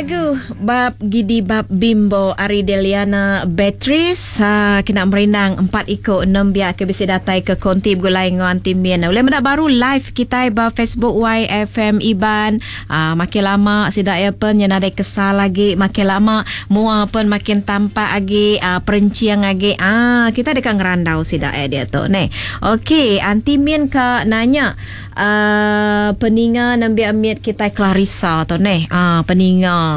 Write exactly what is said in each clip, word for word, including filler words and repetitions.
Lagu Bab Gidi Bab Bimbo ari Deliana Beatrice uh, kena merindang empat iko nembiak ke bisi datai ke konti begulai enggau Aunty Min. Ulih meda baru live kitai ba Facebook Y F M Iban. Uh, makin lama sida ya pen nya nadai kesal lagi, makin lama mua pen makin tampak agi, uh, perencing agi. Ah, kita deka ngerandau sida ya dia tu ne. Okey, Aunty Min ka nanya uh, peninga nembiak mit kitai Clarissa tu ne. Ah, peninga.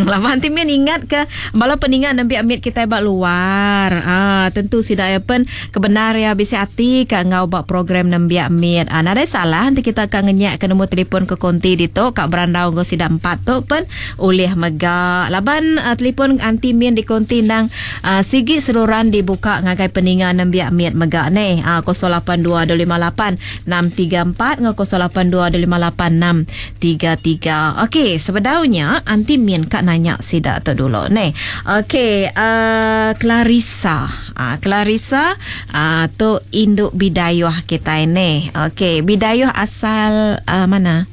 Lama Aunty Min ingat ke bala peninga nembiak mit kitai ba luar. Ah, tentu sida ya pen kebenar ya bisi ati ka ngau ba program nembiak mit. Ah, nadai salah nanti kita ka ngenyak ke nombor telefon ke konti ditu ka berandau ngau sida empat tu pen ulih mega. Laban uh, telefon Aunty Min di konti nang uh, sigi seluran dibuka ngagai peninga nembiak mit mega ne. Ah, kosong lapan dua dua lima lapan enam tiga empat ngau kosong lapan dua dua lima lapan enam tiga tiga. Okey, sebedaunya Aunty Min kak nanya sida tu dulu ne. Okey, uh, Clarissa. Ah, uh, Clarissa uh, tu induk bidayuh kita ne. Okey, bidayuh asal uh, mana?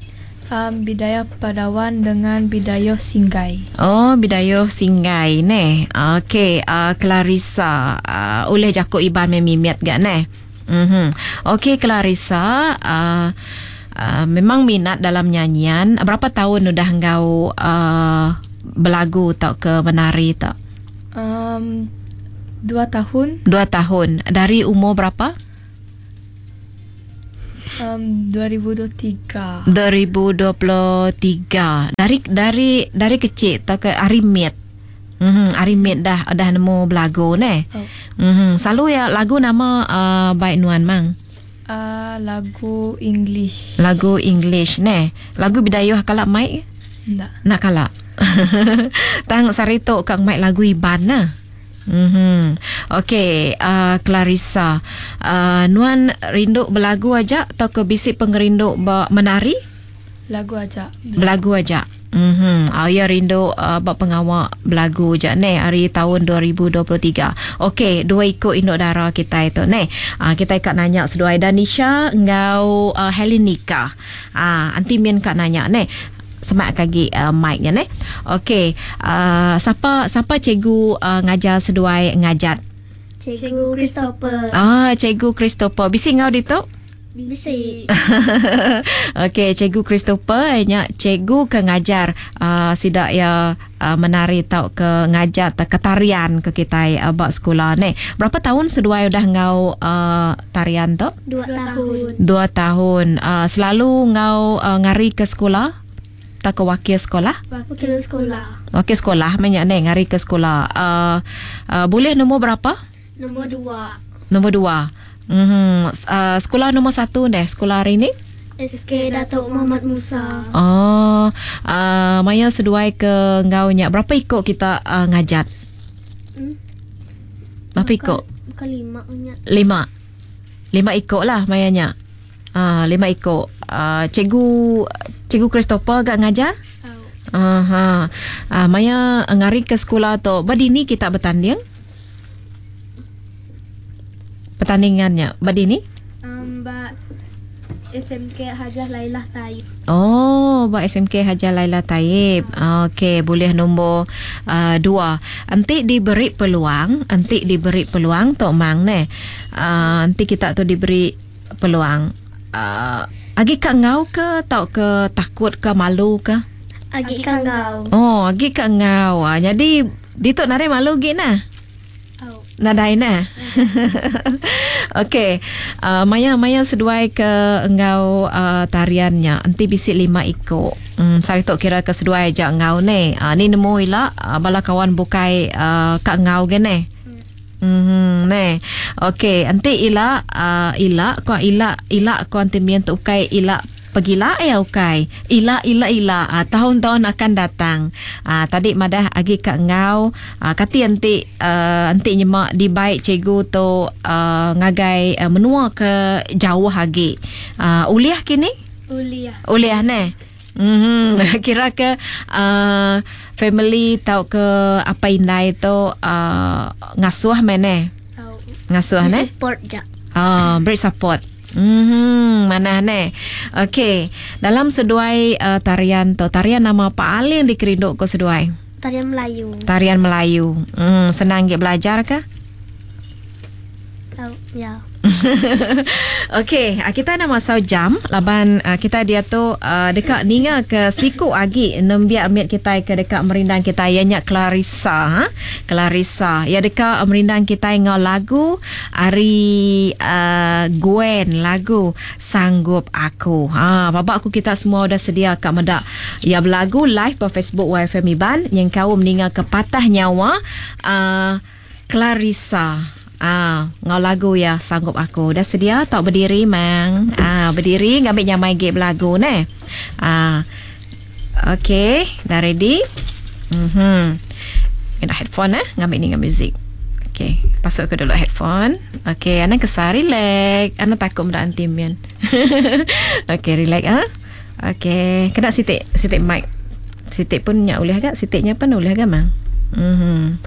Um, bidayuh Padawan dengan bidayuh Singgai. Oh, bidayuh Singgai ne. Okey, uh, Clarissa uh, oleh jakuk Iban memimiat gak ne. Mhm. Okey, Clarissa, uh, Uh, memang minat dalam nyanyian. Berapa tahun udah engkau uh, belagu atau ke menari tak? Um, dua tahun. Dua tahun. Dari umur berapa? Um, dua ribu dua puluh tiga. dua ribu dua puluh tiga. Dari, dari, dari kecil atau ke hari mit? Mhm, hari mit dah, dah nemu belagu ne. Oh. Mhm, selalu ya lagu nama uh, baik nuan mang. Uh, lagu English. Lagu English ne. Lagu bidayuh kalak mic? Ndak. Nak kalak. Tang sarito kang mic lagu Iban nah. Mhm. Okey, uh, Clarissa, uh, nuan rindu belagu aja atau ke bisi pengerindu ba menari? Lagu aja. Belagu aja. Mhm. Ah, ya rindu uh, bab pengawak belagu je ne hari tahun dua ribu dua puluh tiga. Okey, dua ikut induk dara kita itu ne. Ah, kita ikat nanya seduai Danisha ngau uh, Helenika. Ah, anti min kat nanya ne. Semak kagi uh, mic-nya ne. Okey, uh, siapa siapa cikgu uh, ngajar seduai ngajat? Cikgu Christopher. Ah, Cikgu Christopher. Bisi ngau ditu? Bisi. Okey, Cikgu Christopher nya cikgu ke ngajar uh, sidak ya uh, menari tau ke ngajar te ketarian ke kita uh, bak sekolah ni. Berapa tahun seduai udah ngau uh, tarian tu? Dua tahun. Dua tahun. Uh, selalu ngau uh, ngari ke sekolah? Tak ke wakil sekolah? Wakil sekolah. Wakil sekolah banyak ni ngari ke sekolah. Uh, uh, boleh nombor berapa? Nombor dua. Nombor dua. Mm-hmm. Uh, sekolah nombor satu deh, sekolah hari ni? S K Datuk Muhammad Musa. Oh, uh, Maya seduai ke ngau nya. Berapa ikut kita uh, ngajat? Hmm? Berapa ikut? Bukan lima nya. Lima. Lima ikut lah Maya nya. Uh, lima ikut. Uh, cikgu, Cikgu Christopher gak ngajar? Oh. Aha. Uh, Maya ngari ke sekolah tu. Badi ni kita bertanding? Pertandingannya badi ni? Um, ba S M K Hajah Lailah Taib. Oh, ba S M K Hajah Lailah Taib. Okey, boleh nombor uh, dua. Nanti diberi peluang, nanti diberi peluang tok mang ne. Uh, nanti kita tu diberi peluang. Uh, agi kak ngau ke tau ke takut ke malu ke? Agi kak ngau. Oh, agi kak ngau. Ah, jadi ditok nare malu gi nah. Nadai nah. Okey, uh, Maya Maya seduai ke engau uh, tariannya. Nanti bisi lima ikut. Hmm, sari tok kira ke seduai aja engau ne. Uh, ni nemu ila uh, bala kawan bukai uh, kak engau ge ne. Hmm, ne. Okey, nanti ila uh, ila ko ila ila ko anti mien tu ukai ila pegila ya ukai. Ila ila ila ah, tahun-tahun akan datang. Ah, tadi madah agi kak ngau ah, kati anti uh, anti nyemak di baik cikgu tu uh, ngagai uh, menua ke jauh agi. Ah, uliah kini? Uliah. Uliah ne. Mhm, kira ke uh, family tau ke apa indai tu uh, ngasuh mene. Tau. Ngasuh ne? Support ja. Ah, beri support. Mhm, mana ne. Okey, dalam seduai uh, tarian tu, tarian nama paling dikerindu ko seduai? Tarian Melayu. Tarian Melayu. Hmm, senang ge belajar ke? Oh, ya. Okey, ah, kita nak masuk jam laban uh, kita dia tu uh, dekat ninga ke siku agi nembiak amit kita ke dekat merindang kita ianya Clarissa ha? Clarissa ya dekat merindang kita ngau lagu ari uh, Gwen lagu Sanggup Aku. Ha babak aku kita semua dah sedia kat medak ya berlagu live pa Facebook Y F M Iban yang kau meninga ke patah nyawa uh, Clarissa. Ah, ngau lagu ya Sanggup Aku. Dah sedia tak berdiri mang? Ah, berdiri ngambil nyamai ge belagu ne. Ah. Okey, dah ready? Mhm. Kena headphone eh, ngambil ni dengan muzik. Okey, pasuk ke dulu headphone. Okey, ana kesar relax. Ana takut mendak anti mian. Okey, relax ah. Okey, kena sitik sitik mic. Sitik pun nyak boleh agak, sitiknya pun boleh agak mang. Mhm.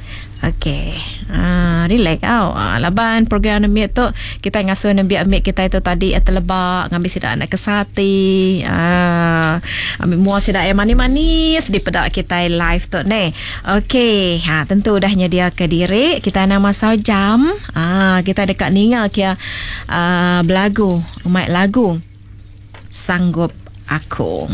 Okey. Ah, relax tau. Ah, laban program nembiak tu kita ngasuh nembiak ambil kita itu tadi terlebak ngambil sidak anak kesati. Ah, ambil muar sidak yang manis-manis di pedak kita live tu ne. Okey, ha tentu dah nyedia ke diri. Kita nak masa jam. Ah, kita dekat ninga kia ah, belagu, mic lagu Sanggup Aku.